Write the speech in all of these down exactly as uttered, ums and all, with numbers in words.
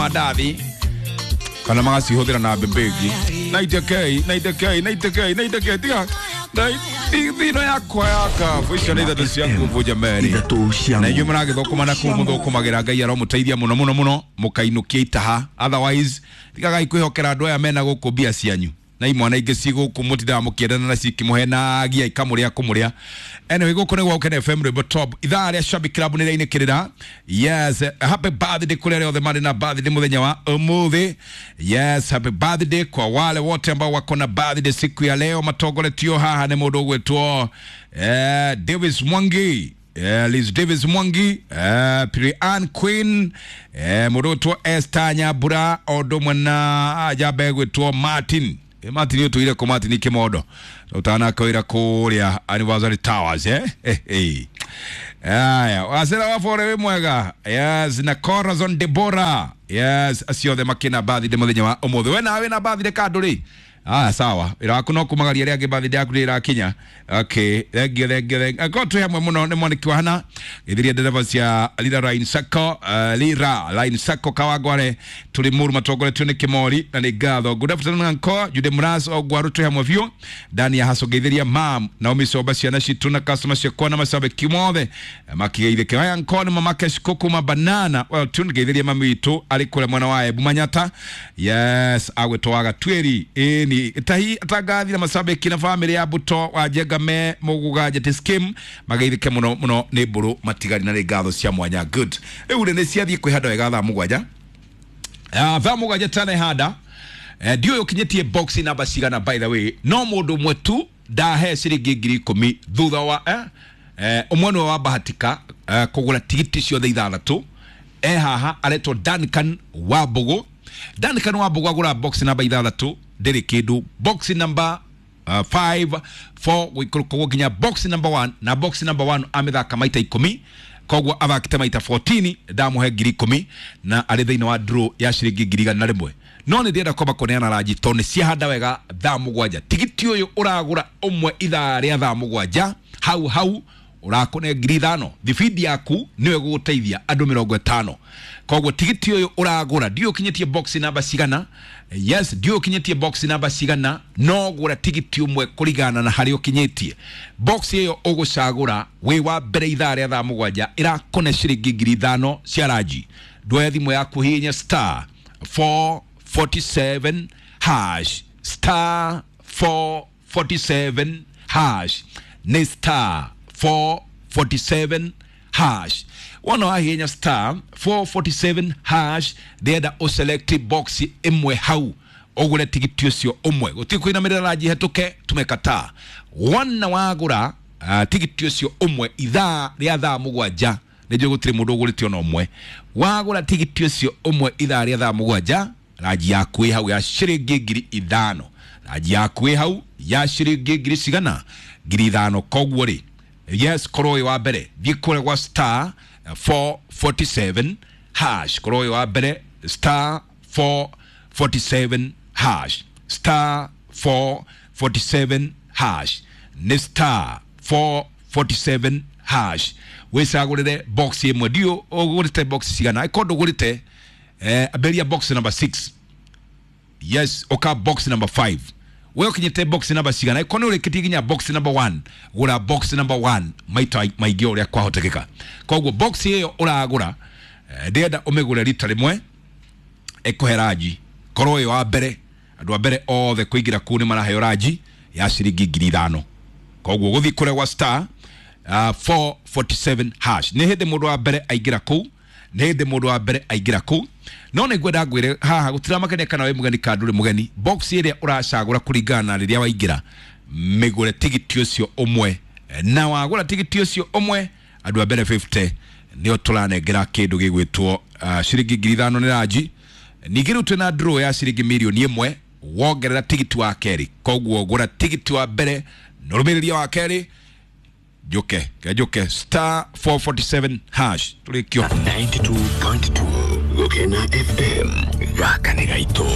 Mandathi kana magacihũthĩra na mbembe ĩngĩ na itekei na itekei na itekei na itekei tiga thino yakwa ya kabu icio nĩ ithatũ cia nguvu jameni na inyuĩ mũragĩthũkũma na kũu mũthũkũmagĩra Ngai aromũteithia mũno mũno mũno mũkainũkia itaha otherwise tigagai kwĩhokera andũ aya mena gũkũ mbia cianyu na imwana ingĩ ci gũkũ mũtindaga mũkĩendana na cikĩmũhenagia ikamũrĩa kũmũrĩa. Anyway, gũkũ nĩ gwa Gũkena F M Rwĩmbo Top ithaa rĩa Shabik Club nĩ rĩainĩkĩrĩra. Yes, happy birthday kũrĩ arĩa othe marĩ na birthday mũthenya wa ũmũthĩ. Yes, happy birthday kwa wale wote ambao wako na birthday siku ya leo matongoretio haha nĩ mũndũ ũgwĩtwo eh, Davis Mwangi. Eh, Liz Davis Mwangi, eh, Piri Ann Queen, eh, mũndũ ũgwĩtwo Esther Nyambura, o ũndũ ũmwe na njamba ĩgwĩtwo Martin. E Martin utuire ko Martin Kimodo utana kawira kuria Anniversary Towers eh eh eh aya wasera wa fore we mwega. Yes, na Corazon Deborah. Yes, acio the makina birthday muthenya wa umuthi we nawe na birthday kandu ri ah sawa ira waku no kumagaria ria birthday yaku irakinya. Okay, thank you thank you thank you ko hamwe muno ni mwaniki wa hana githiria ndereba cia Lira Line Sacco, uh, Lira Line Sacco Kawangware turi muru matongoretio ni Kimori na ni ngatho. Good afternoon uncle Jude Mras ogwaru turi hamwe biũ ndani ya haso geithiria mam Naomi Soba ciana citu na customer ciakwa na macabe kimothe makigeithike aya uncle ni mama Keshiko kuma banana well tune geithiria mami witu ari kure mwana wa Ebu Manyata. Yes, agwetwaga tweri ni tahi atangathi na macabiki na family ya Buto wa Njengame muguga njeti scheme mageithike muno muno ni mburu matigari na ngatho cia mwanya. Good riu ni ciathie kwihanda wega thaa mugwanja ah thaa mugwanja tane handa ndiũĩ ũkinyĩtie box namba cigana by the way no mũndũ ũmwe tu ndahe ciringi ngiri ikũmi thutha wa eh eh ũmwe nĩwe wabahatika eh, kũgũra tigiti ciothe ithathatũ eh haha aretwo Duncan Wambugu. Duncan Wambugu agũra box namba ithathatũ ndĩrĩ kĩndũ box number uh, five four gũikũrũka nginya box number one na box number one amĩthaka maita ikũmi koguo athakĩte maita fourteen ndamũhe ngiri ikũmi na arĩ thĩinĩ wa draw ya ciringi ngiri igana rĩmwe. No nĩ ndĩrenda kwamba kũneana ranji tondũ nĩ ciahanda wega thaa mũgwanja. Tigiti ũyũ ũragũra ũmwe ithaa rĩa thaa mũgwanja hau hau ũrakũne ngiri ithano thibindi yaku nĩyo ĩgũgũteithia andũ mĩrongo ĩtano. Koguo tigiti ũyũ ũragũra ndiũĩ ũkinyĩtie box namba cigana. Yes, ndiũĩ ũkinyĩtie box namba cigana no gũra tigiti ũmwe kũringana na harĩa ũkinyĩtie. Box ĩyo ũgũcagũra wĩ wa mbere ithaa rĩa thaa mũgwanja ĩrakũne ciringi ngiri ithano cia ranji. Ndwoe thimũ yaku hihinya star four forty-seven hash star four forty-seven hash nĩ star four forty-seven hash wona wahihinya star four forty-seven hash ndĩrenda ũselect box ĩmwe hau ũgũre tigiti ũcio ũmwe gũtirĩ kũinamĩrĩra ranji hetũke tumekataa. Wona wagũra uh, tigiti ũcio ũmwe ithaa rĩa thaa mũgwanja nĩnjũĩ gũtirĩ mũndũ ũgũrĩte ona ũmwe wagũra tigiti ũcio ũmwe ithaa rĩa thaa mũgwanja ranji yaku ĩ hau ya ciringi ngiri ithano ranji yaku ĩ hau ya ciringi ngiri cigana ngiri ithano. Koguo rĩ yes korwo wĩ wa mbere thiĩ kũrĩa gwa star four forty-seven hash korwo wĩ wa mbere star four forty-seven hash star four forty-seven hash nĩ star four forty-seven hash wĩcagũrĩre box ĩmwe ndiũ ũgũrĩte box cigana ĩkorwo ndũgũrĩte eh, ambĩrĩria box number six. Yes, oka box number five we ũkinyĩte box number cigana ĩkorwo nĩ ũrĩkĩtie nginya box number one gũra box number one maita maingĩ ũrĩa kwahotekeka. Koguo box ĩyo ũragũra ndĩrenda ũmĩgũre rita rĩmwe ĩkũhe ranji korwo wĩ wa mbere andũ a mbere othe kũingĩra kũu nĩ maraheo ranji ya ciringi ngiri ithano. Koguo gũthiĩ kũrĩa gwa star uh, four forty-seven hash nĩ hĩndĩ mũndũ wa mbere aingĩra kũu nĩ hĩndĩ mũndũ wa mbere aingĩra kũu no nĩ ngwenda ngwĩre haha gũtiramakania kana wĩ mũgeni kana ndũrĩ mũgeni box ĩrĩa ũracagũra kũringana na rĩrĩa waingĩra mĩgũre tigiti ũcio ũmwe na wagũra tigiti ũcio ũmwe andũ a mbere fifty nĩo tũranengera kĩndũ gĩgwĩtwo uh, ciringi ngiri ithano nĩ ranji. Ningĩ rĩu twĩna draw ya ciringi mirioni ĩmwe wongerera tigiti wa kerĩ. Koguo gũra tigiti wa mbere na ũrũmĩrĩria wa kerĩ njuke ke njuke star four forty-seven hash tũrĩkio ninety-two point two Gũkena F M gaka nĩ gaitũ.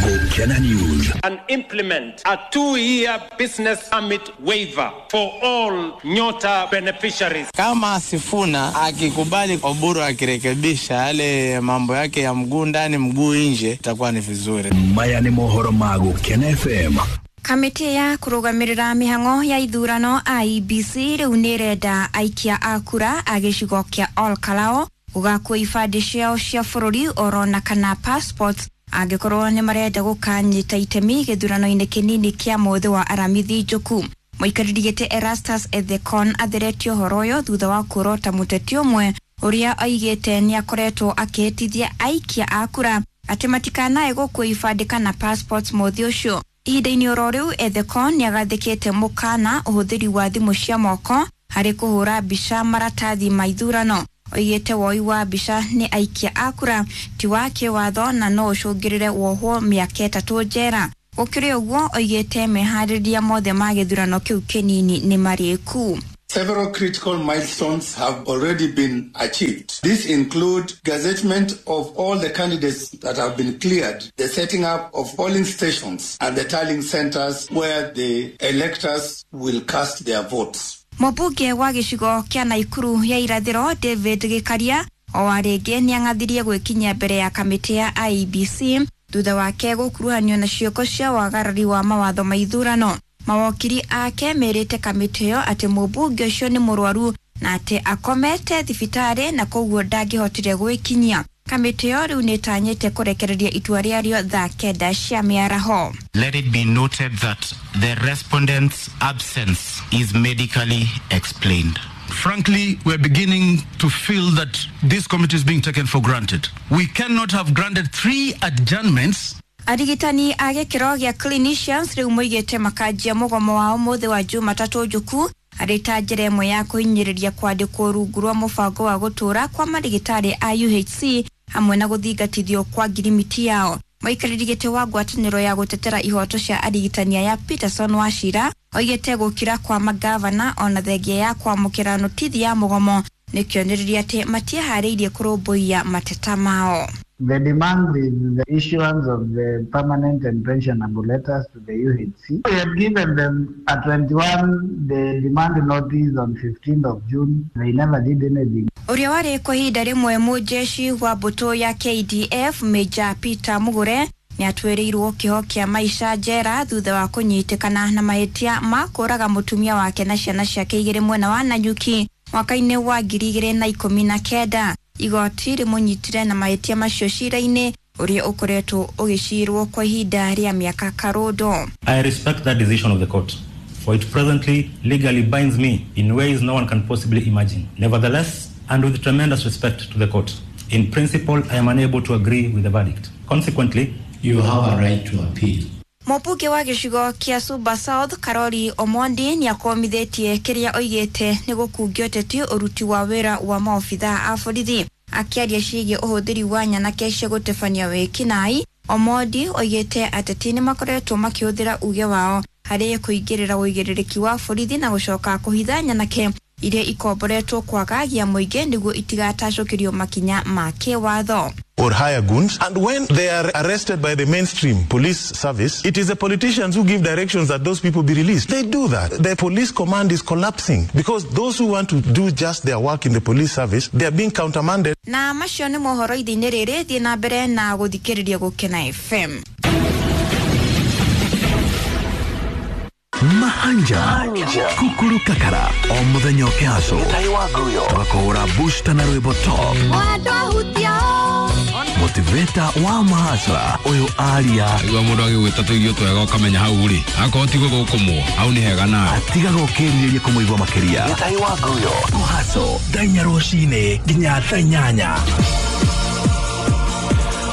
Gũkena Gukena News. And implement a two-year business permit waiver for all Nyota beneficiaries. Kama Sifuna akikubali Oburu akirekebisha yale mambo yake ya mguu ndani mguu nje, itakuwa ni vizuri. Maya ni mohoro ma Gukena F M. Kamĩtĩ ya kũrũgamĩrĩra mĩhang'o ya ithurano I E B C rĩu nĩrenda aikia a kura a gĩcigo kĩa Ol Kalou gũgakua ibandĩ ciao cia bũrũri oro na kana passports angĩkorwo nĩ marenda gũkanyita itemi gĩthurano-inĩ kĩnini kĩa mũthĩ wa Aramithi Njoku. Mũikarĩri gĩtĩ Erastus Ethekon atheretie ũhoro ũyũ thutha wa kũrota mũteti ũmwe ũrĩa oigĩte nĩ akoretwo akĩhĩtithia aikia a kura atĩ matikanae gũkua ibandĩ kana passports mũthĩ ũcio. Ihinda-inĩ oro rĩu Ethekon nĩ agathĩkĩte mũkana ũhũthĩri wa thimũ cia moko harĩ kũhũra mbica maratathi ma ithurano. Oigĩte woi wa mbica nĩ aikia a kura ti wa kĩwatho na no ũcũngĩrĩre wohwo mĩaka ĩtatũ njera. Gũkĩrĩ ũguo oigĩte meharĩria mothe ma gĩthurano kĩu kĩnini nĩ marĩku. Several critical milestones have already been achieved. These include gazettement of all the candidates that have been cleared, the setting up of polling stations and the tallying centers where the electors will cast their votes. Mũmbunge wa gĩcigo kĩa Naikuru ya irathĩro David Gĩkaria o rĩngĩ nĩang'athirie gwĩkinyia mbere ya kamĩtĩ ya I E B C thutha wake gũkuruhanio na ciĩko cia wagarari wa mawatho ma ithurano. Mawokiri ake merĩte kamĩtĩ ĩyo atĩ mũmbunge ũcio nĩ mũrwaru na atĩ akomete thibitarĩ na koguo ndangĩhotire gwĩkinyia. Kamĩtĩ ĩyo rĩu nĩĩtanyĩte kũrekereria itua rĩarĩo thaa kenda cia mĩaraho. Let it be noted that the respondent's absence is medically explained. Frankly, we're beginning to feel that this committee is being taken for granted. We cannot have granted three adjournments. Arigitani a gĩkĩro gĩa clinicians rĩu moigĩte makanjia mũgomo wao mũthĩ wa Jumatatũ njuku arĩ ta njĩra ĩmwe ya kũhinyĩrĩria kwandĩkwo rungu rwa mũbango wa gũtũũra kwa marigitari a U H C hamwe na gũthingatithio kwa ngirimiti yao. Mũikarĩri gĩtĩ wa ngwatanĩro ya gũtetera ihoto cia arigitani ya Peterson Wachira oigĩte gũkira kwa magavana ona thengia ya kwamũkĩra notithi ya mũgomo nĩ kĩonereria atĩ matiĩharĩirie kũrũmbũiya mateta mao. The demand is the issuance of the permanent and pensionable letters to the U H C. We had given them a twenty-one day demand notice on fifteenth of June. They never did anything. Ũrĩa warĩ kwa ihinda rĩmwe mũjeshi wa mbũtũ ya K D F Major Peter Mugure nĩatuĩrĩirwo kĩoho kĩa maica njera thutha wa kũnyitĩkana na mahĩtia ma kũũraga mũtumia wake na ciana ciake igĩrĩ mwena wa Nanyuki mwaka-inĩ wa ngiri igĩrĩ na ikũmi na kenda. Igoti rĩmũnyitire na mahĩtia macio cira-inĩ ũrĩa ũkoretwo ũgĩcirwo kwa ihinda rĩa mĩaka karũndo. I respect that decision of the court, for it presently legally binds me in ways no one can possibly imagine. Nevertheless, and with tremendous respect to the court, in principle I am unable to agree with the verdict. Consequently, you have a right to appeal. Mũmbunge wa gĩcigo kĩa Suba South Karoli Omondi nĩakomithĩtie kĩrĩa oigĩte nĩ gũkungio ũteti ũruti wa wĩra wa maobithaa a borithi. Akĩaria ciĩgiĩ ũhũthĩri wa nyanake cia gũtebania wĩkinaĩ, Omondi oigĩte ateti nĩmakoretwo makĩhũthĩra uge wao harĩ kũingĩrĩra ũigĩrĩrĩki wa borithi na gũcoka kũhitha nyanake iria ikomboretwo kwagagia mũingĩ nĩguo itigatacũkĩrio makinya ma kĩwatho. Or hire goons, and when they are arrested by the mainstream police service, it is the politicians who give directions that those people be released. They do that. The police command is collapsing because those who want to do just their work in the police service, they are being countermanded. Na macio nĩ mohoro ithe-inĩ rĩrĩ, thiĩ na mbere na gũthikĩrĩria Gũkena F M. Mahanja Kukuru Kakara o muthenya ũkĩhaco tũgakũhũra booster na rwĩmbo top motivator wa mahasra ũyũ aria igua mũndũ agĩgwĩta tũirio twega ũkamenya hau rĩ akorwo ti gũthũkũmwo hau nĩ hega nawe atigaga ũkĩrirĩria kũmũigua makĩria kũhaco thaa inya rũcinĩ nginya thaa inyanya.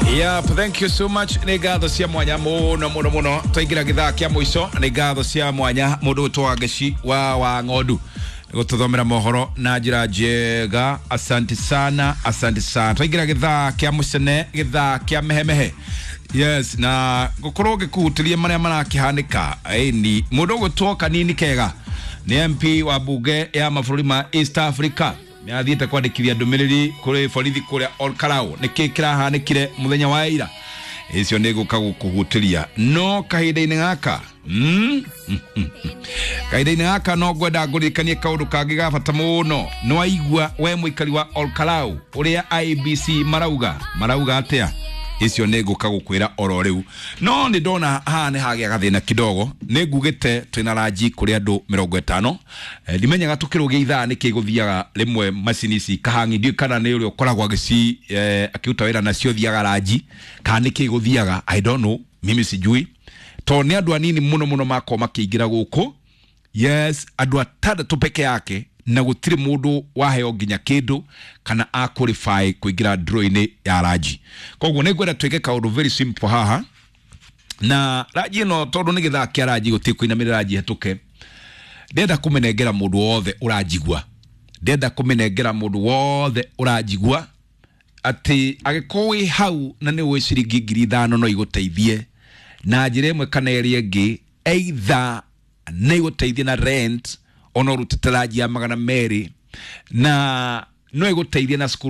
Yep, thank you so much. Nĩ ngatho cia mwanya mũno mũno mũno twaingĩra gĩthaa kĩa mũico. Nĩ ngatho cia mwanya mũndũ ũtwa Ngeci wa wa ng'ondu gũtũthomera mohoro na njĩra njega. Asante sana, asante sana. Twaingĩra gĩthaa kĩa mũcene, gĩthaa kĩa mehemehe. Yes, na gũkorwo ngĩkũhutĩria marĩa marakĩhanĩka. Ĩni mũndũ ũgũtwo Kanini Kega nĩ M P wa bunge ya mabũrũri ma East Africa nĩathiĩte kwandĩkithia ndũmĩrĩri kũrĩ borithi kũrĩa Ol Kalou. Nĩkĩ kĩrahanĩkire mũthenya wa ira? Icio nĩ gũka gũkũhutĩria no kahinda-inĩ gaka mm? Kahinda-inĩ gaka no ngwenda ngũririkanie kaũndũ kangĩ ga bata mũno. Nĩ waigua we mũikari wa Olkalau ũrĩa I B C marauga marauga atĩa? Icio nĩ ngũka gũkwĩra oro rĩu. No nĩ ndona haha nĩ hagĩa gathĩna kidogo. Nĩ ngugĩte twĩna ranji kũrĩ andũ mĩrongo ĩtano. Ndimenyaga tũkĩrũgia ithaa nĩkĩ gũthiaga rĩmwe macini ici kahangi, ndiũĩ kana nĩ ũrĩa ũkoragwo agĩci eh, akĩruta wĩra nacio thiaga ranji kana nĩkĩ gũthiaga, I don't know, mimi sijui. To nĩ andũ anini mũno mũno makorwo makĩingĩra gũkũ. Yes, andũ atandatũ peke yake na gũtirĩ mũndũ waheo nginya kĩndũ kana a qualify kũingĩra draw-inĩ ya ranji. Koguo nĩ ngwenda twĩke kaũndũ very simple haha. Na ranji ĩno tondũ nĩ gĩthaa kĩa ranji gũtirĩ kũinamĩrĩra ranji hetũke. Ndĩrenda kũmĩnengera mũndũ wothe ũranjigua. Ndĩrenda kũmĩnengera mũndũ wothe ũranjigua atĩ angĩkorwo wĩ hau na nĩ ũĩ ciringi ngiri ithano no igũteithie na njĩra ĩmwe kana ĩrĩa ĩngĩ, either nĩ igũteithie na rent ona ũrutĩte ranji ya magana merĩ na no ĩgũteithie na cukuru.